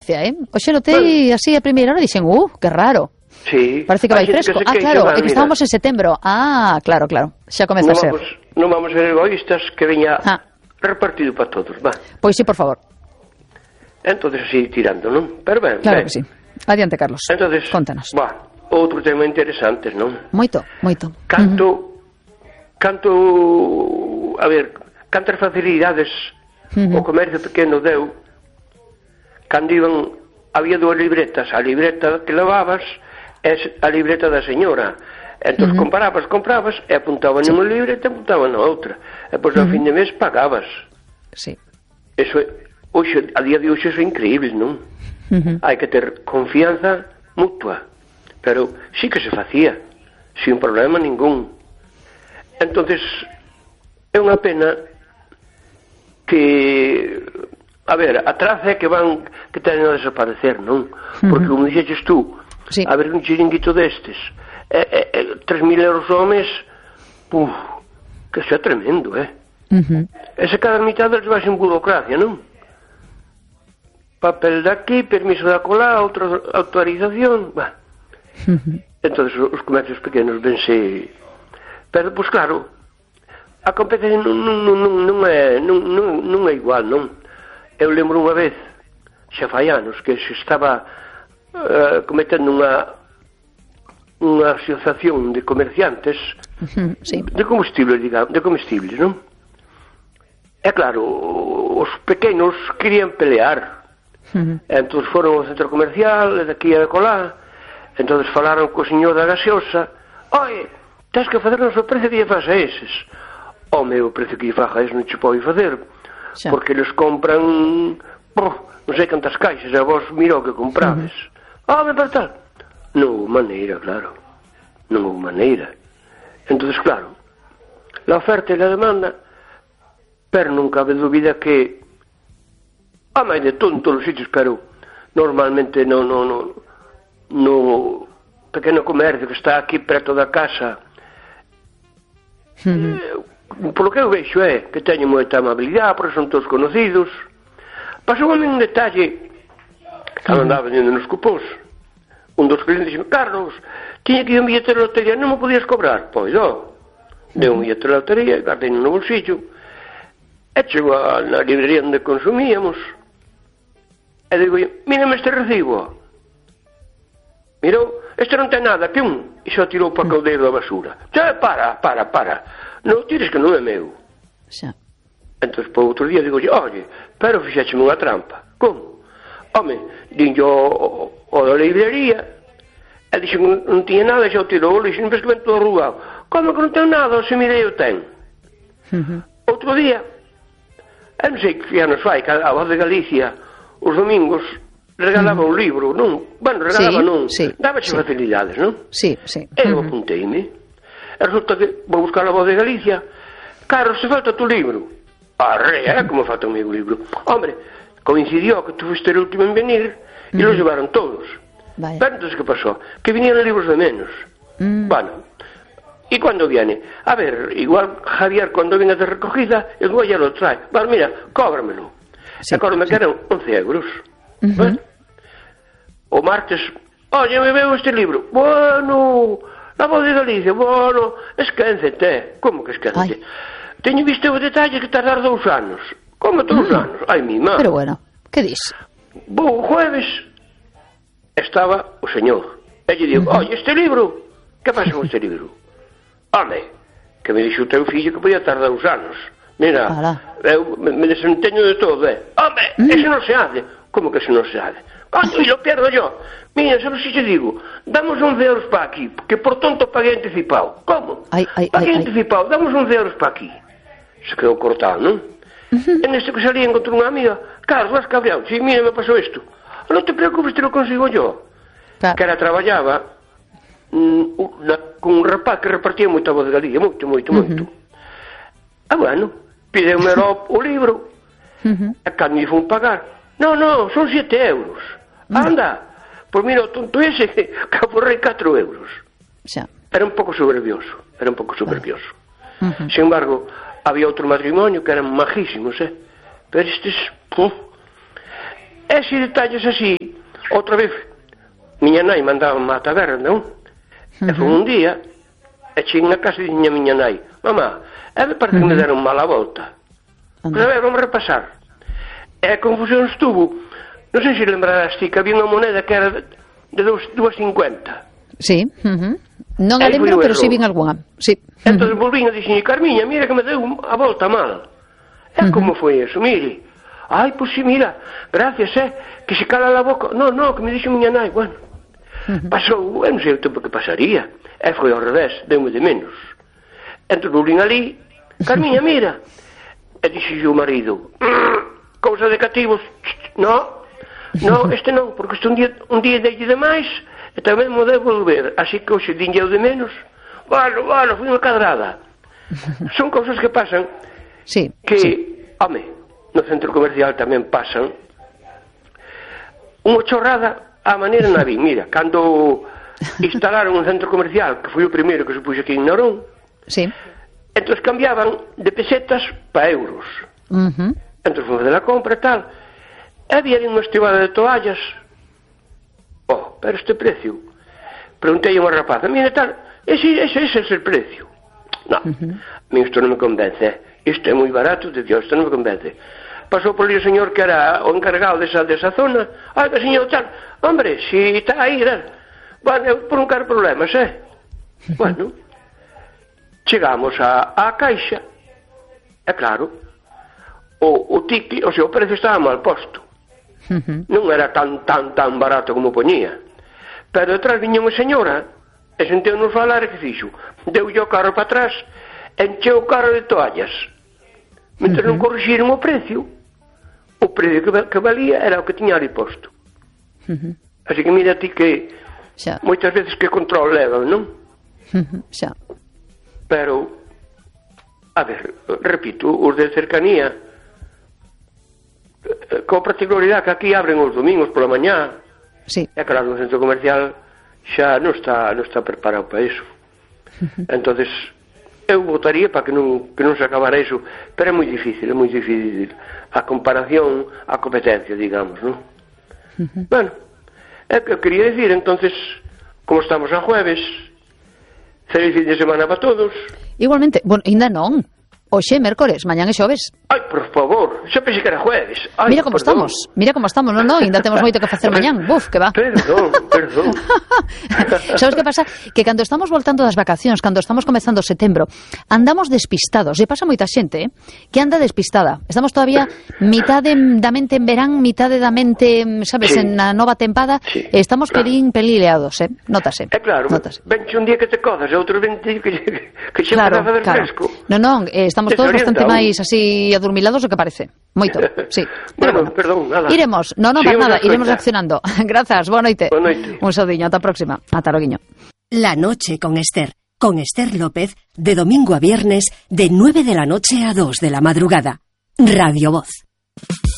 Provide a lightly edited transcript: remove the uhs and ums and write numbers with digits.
gracia, Oxe notei así a primeira hora, dixen, que raro. Sí. Parece que vai fresco. Claro, é que estábamos en setembro. Claro, xa comeza a ser. Non vamos a ser egoístas, que veña repartido para todos, va. Pois sí, por favor. Entonces así tirando, non? Pero ben, claro que sí. Adiante, Carlos. Entonces, contanos. Outro tema interesante, non? Moito. Canto, a ver, cantas facilidades o comercio pequeno deu cando iban, había dúas libretas, a libreta que levabas e a libreta da señora. Entón comprabas e apuntaban nunha libreta e apuntaban na outra. E depois ao fin de mes pagabas. Sí. Eso hoxe, a día de hoxe é increíble, non? Hai que ter confianza mutua. Pero sí que se facía, sin problema ningún. Entonces é unha pena que, a ver, a traza é que teñen a desaparecer, non? Porque como dixeches tú, a ver un chiringuito destes 3.000 euros ao mes, que xa é tremendo, Ese cada mitad deles vai sin burocracia, non? Papel de aquí, permiso de acolá, outra autorización, entonces os comercios pequenos vense. Pero, pois claro, a competencia non é igual, non? Eu lembro unha vez, xa fai anos, que se estaba cometendo unha asociación de comerciantes de comestibles, digamos, non? É claro, os pequenos querían pelear. Entón foron ao centro comercial, de aquí a colá, entón falaron co señor da gaseosa. Oye, tens que facernos o precio que lle faz a eses. O meu precio que lle faz a eses non che pode facer, porque eles compran non sei cantas caixas, e vos mira o que comprades. Me para tal. Non houve maneira, claro. Non houve maneira. Entón, claro, la oferta e la demanda, pero non cabe dúbida que máis de todo en todos os sitios, pero normalmente no pequeno comercio que está aquí preto da casa, polo que eu vexo que teñen moita amabilidade, porque son todos conocidos. Pasou a mí un detalle cando andaba vendendo nos cupós. Un dos clientes dixo: Carlos, tiña que ir un billete de lotería, non me podías cobrar? Pois deu un billete de lotería, guardei no bolsillo, e chegou na librería onde consumíamos. E digo, mírame este recibo. Mirou, este non ten nada, e só tirou para o caldeiro da basura. Para. Non tires que non é meu. Entón, para outro día, digo, oye, pero fixécheme unha trampa. Como? Home, dinlle o da librería, e dixo que non tiña nada, xa o tirou o lixo, non ves que ven todo arrugado. Como que non ten nada, se mirei o ten. Outro día, non sei que anos fai, que a Voz de Galicia os domingos regalaba un libro, non? Bueno, regalaba non, dábache facilidades, non? Eu apunteime, e resulta que vou buscar a Voz de Galicia. Carlos, se falta tu libro. Como falta o meu libro? Hombre, coincidió que tú fuiste el último en venir e los llevaron todos. Pero entonces, ¿qué pasó? Que vinieron libros de menos. Bueno, ¿y cuándo viene? A ver, igual Javier cuando venga de recogida, igual ya lo trae. Vale, mira, cóbramelo. Acordo-me que eran 11 euros. O martes, oye, me veo este libro. Bueno, la Voz de Galicia, bueno, esquéncete. Como que esquéncete? Teño visto o detalle que tardar 2 anos. Como 2 anos? Ai, mi má. Pero bueno, que dis? Vou o jueves, estaba o señor. E lle digo, oye, este libro, que pasa con este libro? Home, que me dixo o teu fillo que podía tardar 2 anos. Mira, eu me desenteño de todo, Home, ese non se hace. Como que ese non se hace? E lo pierdo yo. Mira, sabes si te digo, damos 11 euros para aquí, que por tonto paguei anticipado. Como? Paguei anticipado, damos 11 euros para aquí. Se quedou cortado, non? En este que salía encontré unha amiga. Carlos, vas cabreado. Si, mira, me pasou isto. Non te preocupes, te lo consigo yo. Que era traballaba con un rapaz que repartía moita Voz de Galicia, moito. Bueno, pideume o libro, e cando me fun pagar, non, son 7 euros. Anda, pois mira, o tonto ese que aforrei 4 euros. Era un pouco soberbioso. Sin embargo, había outro matrimonio que eran majísimos, pero estes, ese detalles así, outra vez, miña nai mandaba a taberna, non? E foi un día, e cheguei na casa e diña miña nai, mamá, me parece que me deron mal a volta. Pero a ver, vamos repasar. E a confusión estuvo, non sei se lembrarás ti, que había unha moneda que era de 2,50. Sí, non a lembro, pero si vin algunha. Sí. Entón volvín e dixen, Carmiña, mira que me deu a volta mal. E como foi eso? Mire, ai, pois si, mira, gracias, que se cala a boca. No, que me dixo miña nai, bueno. Pasou, eu non sei o tempo que pasaría. E foi ao revés, deu-me de menos. Entón volvín ali, Carmiña, mira. E dixo o marido, cousa de cativos, no, este non, porque este un día dei de máis, e tamén mo debo volver, así que hoxe dinlle de menos. Bueno, foi unha cadrada. Son cousas que pasan, sí, que, home, no centro comercial tamén pasan, unha chorrada a maneira na vi. Mira, cando instalaron un centro comercial, que foi o primeiro que se puxo aquí en Narón, sí, entón cambiaban de pesetas para euros. Entón fomos de la compra e tal, e había unha estibada de toallas. Pero este precio, preguntei a unha rapaza, mira tal, ese é el precio. No, a mí isto non me convence, isto é moi barato, de Dios, isto non me convence. Pasou por ali o señor que era o encargado desa zona, que señor tal, hombre, si está aí, bueno, por non quero problemas, Bueno, chegamos á caixa, e claro, o ticket, o precio estaba mal posto. Non era tan barato como poñía. Pero detrás viña unha señora, e senteu-nos falar e que fixo? Deu-lle o carro para atrás, encheu o carro de toallas. Mentre non corrixiron o precio que valía era o que tiña ali posto. Así que mira ti que moitas veces que control levan, non? Xa. Pero, a ver, repito, os de cercanía, con particularidade que aquí abren os domingos pola mañá, sí. E claro, no centro comercial xa non está preparado para iso. Entonces eu votaría para que non se acabara iso, pero é moi difícil a comparación, a competencia, digamos, non? Bueno, é que eu quería decir, entonces, como estamos a jueves, feliz fin de semana para todos. Igualmente, bueno, ainda non. Hoxe é mércores, mañán é xoves. Ai, por favor, xa pensei que era jueves. Ai, mira como estamos, non, ainda temos moito que facer mañán. Buf, que va. Perdón. Sabes que pasa? Que cando estamos voltando das vacacións, cando estamos comezando setembro, andamos despistados. E pasa moita xente, que anda despistada. Estamos todavía mitade da mente en verán, mitade da mente, sabes, sí. En a nova tempada, sí. Estamos pelileados, notase. É claro, venche un día que te codas, e outro vente que xe empeza a fazer fresco. Non, estamos todos bastante máis así adormilados do que parece. Moito, sí. Bueno, perdón, nada. Iremos, para nada, iremos reaccionando. Grazas, boa noite. Boa noite. Un saudiño, ata a próxima. Ata loguiño. La noche con Esther López, de domingo a viernes, de 9 de la noche a 2 de la madrugada. Radio Voz.